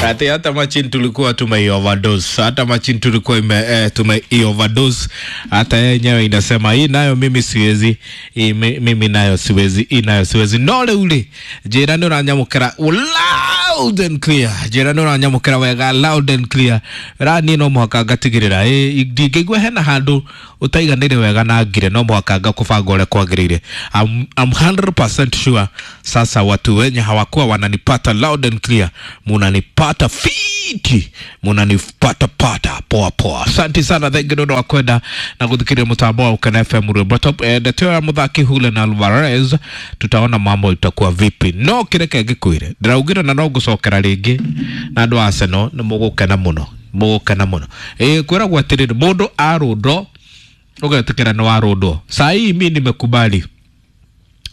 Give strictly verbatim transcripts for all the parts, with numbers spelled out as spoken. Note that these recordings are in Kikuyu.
Ati hata machine tulikuwa tume overdose, hata machine tulikuwa ime, eh, tume overdose. Hata yenyewe inasema hii nayo mimi siwezi, hii mi- mimi nayo siwezi, hii nayo siwezi. No ule njira nĩ ũranyamũkĩra loud and clear, njĩra nĩ ũranyamũkĩra wega loud and clear. Ra niĩ no mũhaka ngatigĩrĩra ĩ ndingĩigua hena handũ ũtaiganĩire wega na ngire, no mũhaka ngakũbanga ũrĩa kwagĩrĩire. I'm, I'm one hundred percent sure sasa watu wenye hawakuwa wananipata loud and clear munanipata fiti, munanipata pata poa poa. Asante sana, thank you nĩ ũndũ wa kwenda na gũthikĩrĩria mũtambo wa Ukena F M Rwimbo Top. Eh, ndeto ya mũthaki Julian Alvarez, tutaona mambo itakuwa vipi, no kĩreke ngĩkwĩre ndĩraugire na no ngũcokera rĩngĩ na andũ a Arsenal nĩ mũgũkena mũno, mũgũkena mũno. Ĩ kwĩragwo atĩrĩrĩ, mũndũ arũndwo ũgetĩkĩra nĩ warũndwo. Saa hii mi nimekubali,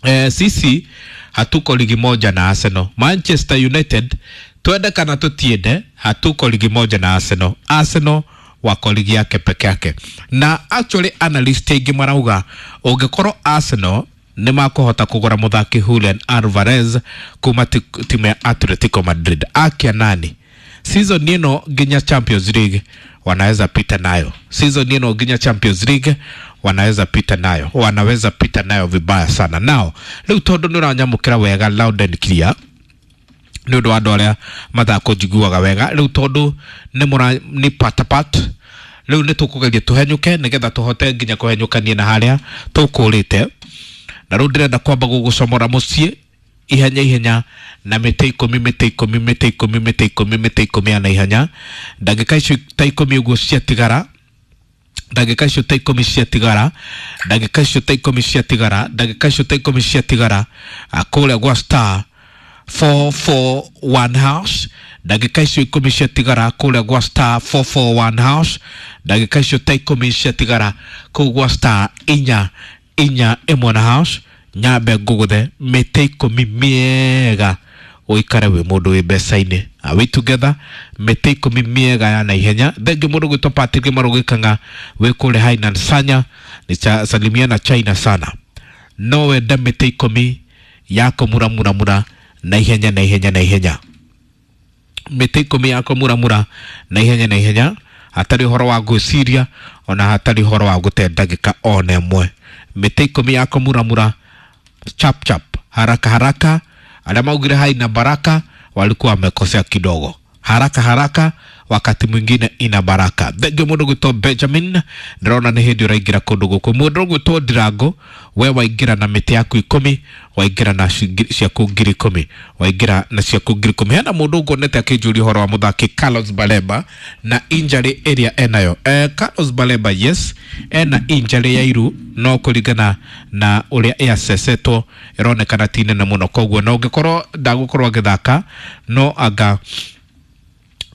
eh, sisi hatuko ligi moja na Arsenal. Manchester United, twende kana tutiende, hatuko ligi moja na Arsenal. Arsenal wako ligi yake peke yake, na actually analyst aingĩ marauga ũngĩkorwo Arsenal nĩ makũhota kũgũra mũthaki Julian Alvarez kuma ti- timu ya Atletico Madrid, akia nani, season ĩno nginya Champions League wanaweza pita nayo. Season ĩno nginya Champions League wanaweza pita nayo, wanaweza pita nayo vibaya sana. Nao rĩu tondũ nĩ ũranyamũkĩra wega loud and clear, nĩ ũndũ wa andũ arĩa matakũnjiguaga wega, rĩu tondũ nĩ mũra nĩ patapat, rĩu nĩ tũkũgeria tũhenyũke nĩgetha tũhote nginya kũhenyũkania na harĩa tũkũrĩte. Na rĩu ndĩrenda kwamba gũgũcomora mũciĩ ihenya ihenya na mĩtĩ ikũmi, mĩtĩ ikũmi, mĩtĩ ikũmi, mĩtĩ ikũmi, mĩtĩ ikũmi ya na ihenya. Ndagĩka icio ta ikũmi ũguo ciatigara, ndagĩka icio ta ikũmi ciatigara, ndagĩka icio ta ikũmi ciatigara, ndagĩka icio ta ikũmi ciatigara, ah, kũrĩa gwa star four four one hash, ndagĩka icio ikũmi ciatigara kũrĩa gwa star four four one hash, ndagĩka icio ta ikũmi ciatigara kũu gwa star inya inya ĩmwe na hash, nyambe ngũgũthe mĩtĩ ikũmi mĩega ũikare wĩ mũndũ wĩ mbeca-inĩ. Are we together? Mĩtĩ ikũmi mĩega ya naihenya. Thengiũ mũndũ gwĩtwo Patrick Marũgĩkang'a wĩ kũrĩa Hainan Sanya nĩ salimia na China sana. No wende mĩtĩ ikũmi ya kũmuramuramura na ihenya na ihenya na ihenya, mĩtĩ ikũmi ya kũmuramura na ihenya na ihenya, hatarĩ ũhoro wa gwĩciria ona hatarĩ ũhoro wa gũte ndagĩka ona ĩmwe. Mĩtĩ ikũmi ya kũmuramura chap chap, haraka haraka. Arĩa maugire haina baraka walikuwa wamekosea kidogo. Haraka haraka wakati mwingine ina baraka. Thengio mũndũ gwĩtwo Benjamin, ndĩrona nĩ hĩndĩ ũraingĩra kũndũ gũkũ. Mũndũ gwĩtwo Ndirango, we waingĩra na mĩtĩ yaku ikũmi, waingĩra na ciringi ciaku ngiri ikũmi, waingĩra na ciaku ngiri ikũmi. Hena mũndũ nguonete akĩnjũria ũhoro wa mũthaki Carlos Baleba na injury ĩrĩa enayo. eh, Carlos Baleba, yes, ena injury ya iru, no kũringana na ũrĩa ĩacesetwo ĩronekana ti nene mũno, koguo na ũngĩkorwo ndagũkorwo agĩthaka no anga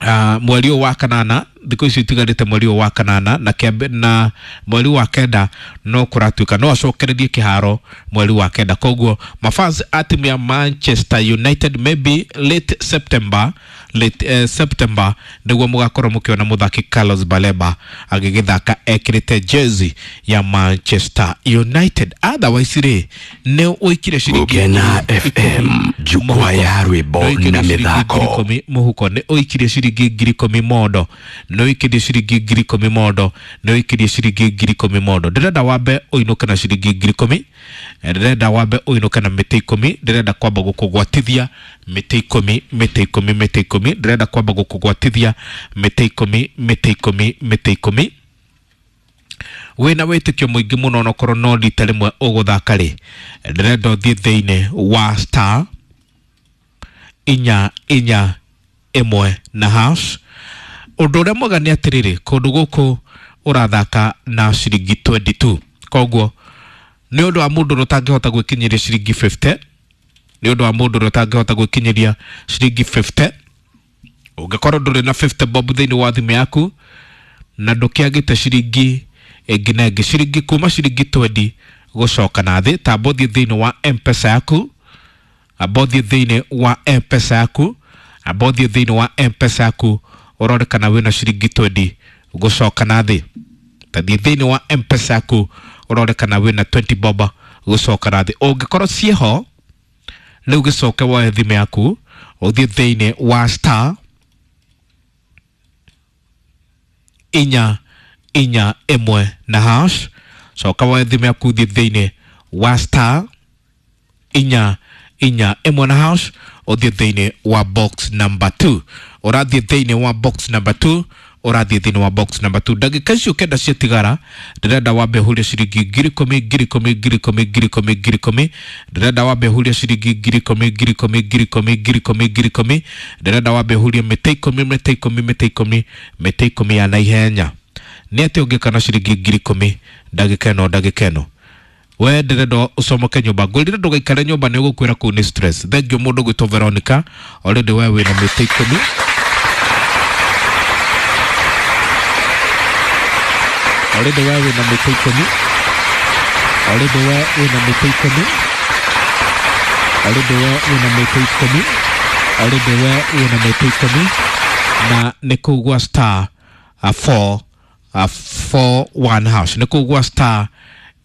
uh, mweri ũyũ wa kanana, thikũ icio itigarĩte mweri ũyũ wa kanana na kĩambe, na mweri wa kenda no kũratuĩka no acokererie kĩharo mweri wa kenda. Koguo mafans a timu ya Manchester United, maybe late September, late uh, September nĩguo mũgakorwo mũkĩona mũthaki Carlos Baleba agĩgĩthaka ekĩrĩte jezi ya Manchester United. Otherwise rĩ, nĩ ũikire ciringi Gũkena F M, jukwaa ya rwĩmbo Nĩ na ũikirie ciringi ngiri mĩthako. Ikũmi mũhuko, nĩ ũikirie ciringi ngiri ikũmi mondo, nĩ ũikirie ciringi ngiri ikũmi mondo, nĩ ũikirie ciringi ngiri ikũmi mondo. Ndĩrenda wambe ũinũke na ciringi ngiri ikũmi, ndĩrenda wambe ũinũke na mĩtĩ ikũmi, ndĩrenda kwamba gũkũgwatithia mĩtĩ ikũmi, mĩtĩ ikũmi, mĩtĩ ikũmi, ndĩrenda kwamba gũkũgwatithia mĩtĩ ikũmi, mĩtĩ ikũmi, mĩtĩ ikũmi. Wĩna wĩtĩkio mũingĩ mũno, onokorwo no rita rĩmwe ũgũthaka rĩ, ndĩrenda ũthiĩ thĩinĩ wa star inya inya ĩmwe na hash. Ũndũ ũrĩa mwega nĩ atĩrĩrĩ, kũndũ gũkũ ũrathaka na ciringi mĩrongo ĩĩrĩ na igĩrĩ, koguo nĩ ũndũ wa mũndũ ũrĩa ũtangĩhota gwĩkinyĩria ciringi mĩrongo ĩtano, nĩ ũndũ wa mũndũ ũrĩa ũtangĩhota gwĩkinyĩria ciringi mĩrongo ĩtano. Ũngĩkorwo ndũrĩ na fifty bob thĩinĩ wa thimũ yaku na ndũkĩagĩte ciringi ĩngĩ na ĩngĩ, ciringi kuma ciringi mĩrongo ĩĩrĩ gũcoka na thĩ, tamba ũthiĩ thĩinĩ wa M-Pesa yaku, amba ũthiĩ thĩinĩ wa M-Pesa yaku, amba ũthiĩ thĩinĩ wa M-Pesa yaku ũrore kana wĩna ciringi mĩrongo ĩĩrĩ gũcoka na thĩ. Tathiĩ thĩinĩ wa M-Pesa yaku ũrore kana wĩna twenty bob gũcoka na thĩ. Ũngĩkorwo ciĩho rĩu, gĩcoke woe thimũ yaku ũthiĩ thĩinĩ wa star inya inya ĩmwe na hash. Coka woe thimũ yaku thiĩ thĩinĩ wa star inya inya ĩmwe na hash, ũthiĩ thĩinĩ wa box number two. Ũrathiĩ thĩinĩ wa box number two, ũrathiĩ thĩinĩ wa box number two. Ndagĩka icio kenda ciatigara, ndĩrenda wambe ũhurie ciringi ngiri ikũmi ngiri ikũmi ngiri ikũmi ngiri ikũmi ngiri ikũmi. Ndĩrenda wambe ũhurie ciringi ngiri ikũmi ngiri ikũmi ngiri ikũmi ngiri ikũmi ngiri ikũmi. Ndĩrenda wambe ũhurie mĩtĩ ikũmi mĩtĩ ikũmi mĩtĩ ikũmi mĩtĩ ikũmi ya naihenya. Nĩ atĩ ũngĩka na ciringi ngiri ikũmi ndagĩka ĩno ndagĩka ĩno? We ndĩrenda ũcomoke nyũmba, ngwĩrire ndũgaikare nyũmba, nĩ ũgũkwĩra kũu nĩ stress. Thank you mũndũ gwĩtwo Veronica, already we wĩna mĩtĩ ikũmi. Already we wĩna mĩtĩ ikũmi. Already we wĩna mĩtĩ ikũmi. Already we wĩna mĩtĩ ikũmi. Already we wĩna mĩtĩ ikũmi. Na nĩ kũu gwa star uh, four uh, four one hash, nĩ kũu gwa star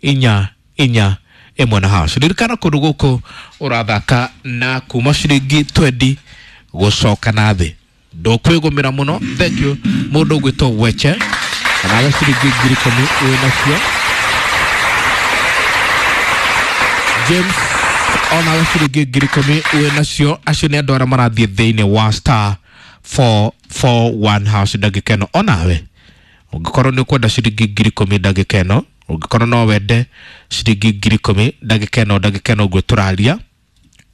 inya inya ĩmwe na hash. Ririkana kũndũ gũkũ ũrathaka na kuma ciringi twendi gũcoka na thĩ, ndũkwĩgũmĩra mũno. Thank you mũndũ ũgwĩtwo Weche, nawe ciringi ngiri ikũmi wĩ nacio. James, onawe ciringi ngiri ikũmi wĩ nacio. Acio nĩ andũ arĩa marathiĩ thĩinĩ wa star four four one hash ndagĩka ĩno. Onawe ũngĩkorwo nĩ ũkwenda ciringi ngiri ikũmi ndagĩka ĩno, ũngĩkorwo no wende ciringi ngiri ikũmi ndagĩka ĩno ndagĩka ĩno ũguo tũraria,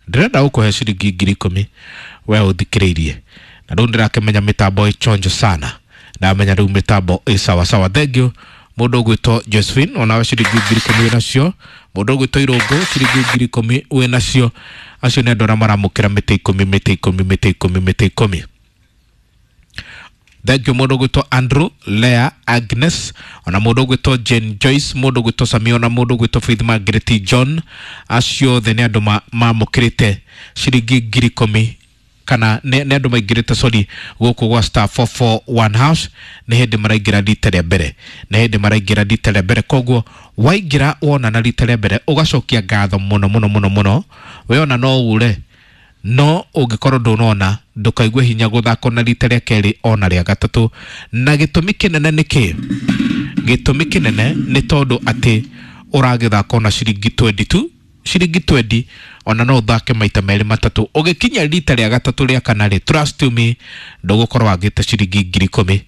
ndĩrenda gũkũhe ciringi ngiri ikũmi we ũthikĩrĩirie. Na rĩu ndĩrakĩmenya mĩtambo ĩchonjo sana, ndamenya rĩu mĩtambo ĩ sawa sawa. Thank you mũndũ ũgwĩtwo Josephine, onawe ciringi ngiri ikũmi wĩ nacio. Mũndũ ũgwĩtwo Irũngũ, ciringi ngiri ikũmi wĩ nacio. Acio nĩ andũ arĩa maramũkĩra mĩtĩ ikũmi mĩtĩ ikũmi mĩtĩ ikũmi mĩtĩ ikũmi. Thank you mũndũ ũgwĩtwo Andrew, Lea, Agnes, ona mũndũ ũgwĩtwo Jane Joyce, mũndũ ũgwĩtwo Samia, ona mũndũ ũgwĩtwo Faith Margaret John. Acio othe nĩ andũ mamũkĩrĩte ciringi ngiri ikũmi, kana nĩ andũ maingĩrĩte, sorry, gũkũ gwa star four four one hash. Nĩ hĩndĩ maraingĩra rita rĩa mbere, nĩ hĩndĩ maraingĩra rita rĩa mbere. Koguo waingĩra wona na rita rĩa mbere ũgacokia ngatho mũno mũno mũno mũno. We ona no ure, no ũngĩkorwo ndũnona ndũkaigue hinya gũthaka na rita rĩa kerĩ ona rĩa gatatũ. Na gĩtũmi kĩnene nĩ kĩ? Gĩtũmi kĩnene nĩ tondũ atĩ ũragĩthaka ona ciringi twenty tu, ciringi twenty, ona no ũthake maita merĩ matatũ. Ũgĩkinya rita rĩa gatatũ rĩa kana rĩ, trust me, ndũgũkorwo wagĩte ciringi ngiri ikũmi,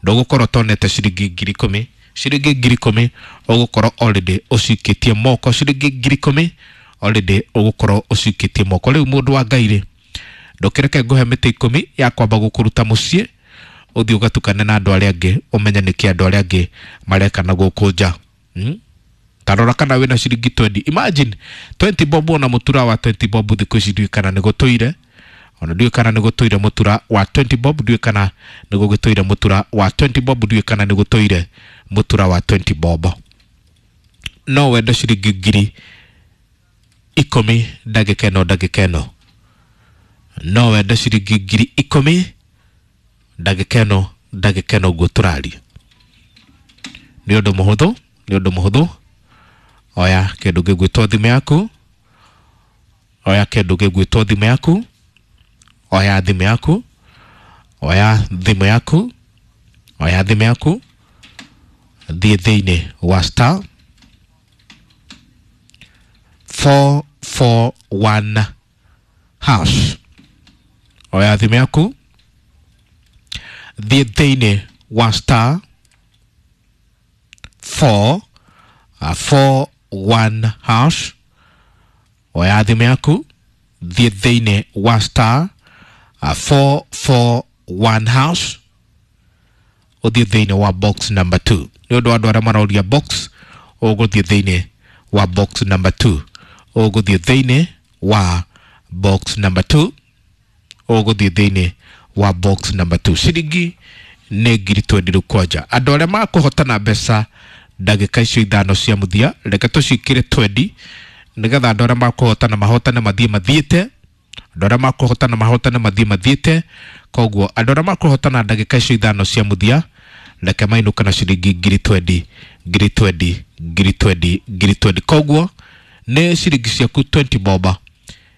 ndũgũkorwo ũtonete ciringi ngiri ikũmi. Ciringi ngiri ikũmi ũgũkorwo already ũcikĩtie moko, ciringi ngiri ikũmi already ũgũkorwo ũcikĩtie moko. Rĩu mũndũ wa Ngai rĩ, ndũkĩreke ngũhe mĩtĩ ikũmi ya kwamba gũkũruta mũciĩ ũthiĩ ũgatukane na andũ arĩa angĩ, ũmenye nĩkĩ andũ arĩa angĩ mareka na gũkũ nja. Hmm? Tarora kana wĩna ciringi twenty. Imagine twenty bob, ona mũtura wa twenty bob thikũ ici ndiũĩ kana nĩ gũtũire, ona ndiũĩ kana nĩ gũtũire mũtura wa twenty bob, ndiũĩ kana nĩ gũgĩtũire mũtura wa twenty bob, ndiũĩ kana nĩ gũtũire mũtura wa twenty bob. No wende ciringi ngiri ikũmi ndagĩka ĩno ndagĩka ĩno? No wende ciringi ngiri ikũmi ndagĩka ĩno ndagĩka ĩno ũguo tũraria? Nĩ ũndũ mũhũthũ, nĩ ũndũ mũhũthũ. Oya kĩndũ gĩgwĩtwo thimũ yaku, oya kĩndũ gĩgwĩtwo thimũ yaku, oya thimũ yaku, oya thimũ yaku, oya thimũ yaku, thiĩ thĩinĩ wa star four four one hash. Oya thimũ yaku, thiĩ thĩinĩ wa star four four one hash. Oya thimũ yaku, thiĩ thĩinĩ wa star four four one hash, ũthiĩ thĩinĩ wa box number two. Nĩ ũndũ wa andũ arĩa marauria box, ũgũthiĩ thĩinĩ wa box number two, ũgũthiĩ thĩinĩ wa box number two, ũgũthiĩ thĩinĩ wa box number two. Ciringi nĩ ngiri twendi rĩu kwanja. Andũ arĩa makũhotana mbeca ndagĩka icio ithano cia mũthia, reke tũciĩkĩre twendi nĩgetha andũ arĩa makũhotana mahotane mathiĩ mathiĩte, andũ arĩa makũhotana mahotane mathiĩ mathiĩte. Koguo andũ arĩa makũhotana ndagĩka icio ithano cia mũthia, reke mainũke na ciringi ngiri twendi ngiri twendi ngiri twendi ngiri twendi. Koguo nĩ ciringi ciaku twenty boba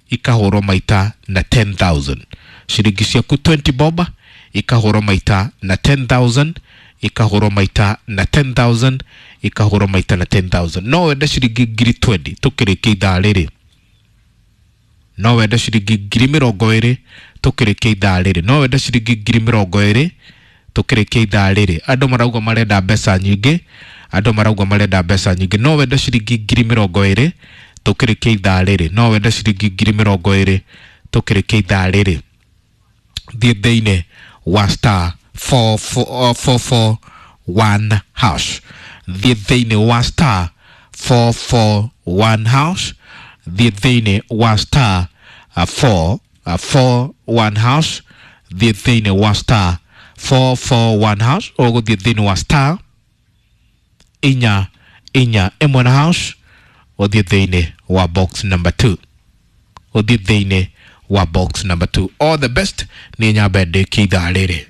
ikahũrwo maita na ten thousand. Ciringi ciaku twenty boba ikahũrwo maita na ten thousand, Ikahũrwo maita na ten thousand, ikahũrwo maita na ten thousand. No wende ciringi ngiri twenty tũkĩrĩkia ithaa rĩrĩ. No wende ciringi ngiri mĩrongo ĩrĩ tũkĩrĩkia ithaa rĩrĩ. No wende ciringi ngiri mĩrongo ĩrĩ tũkĩrĩkia ithaa rĩrĩ. Andũ marauga marenda mbeca nyingĩ, andũ marauga marenda mbeca nyingĩ. No wende ciringi ngiri mĩrongo ĩrĩ tũkĩrĩkia ithaa rĩrĩ. No wende ciringi ngiri mĩrongo ĩrĩ tũkĩrĩkia ithaa rĩrĩ. Thiĩ thĩinĩ wa star four four four four one hash. Thiĩ thĩinĩ wa star four four one hash. Thiĩ thĩinĩ wa star uh, four uh, four one hash. Thiĩ thĩinĩ wa star four four one hash. Ũgũthiĩ thĩinĩ wa star inya inya ĩmwe na hash, ũthiĩ thĩinĩ wa box number two. Ũthiĩ thĩinĩ wa box number two. All the best. Nĩ nyambe ndĩkie ithaa rĩrĩ.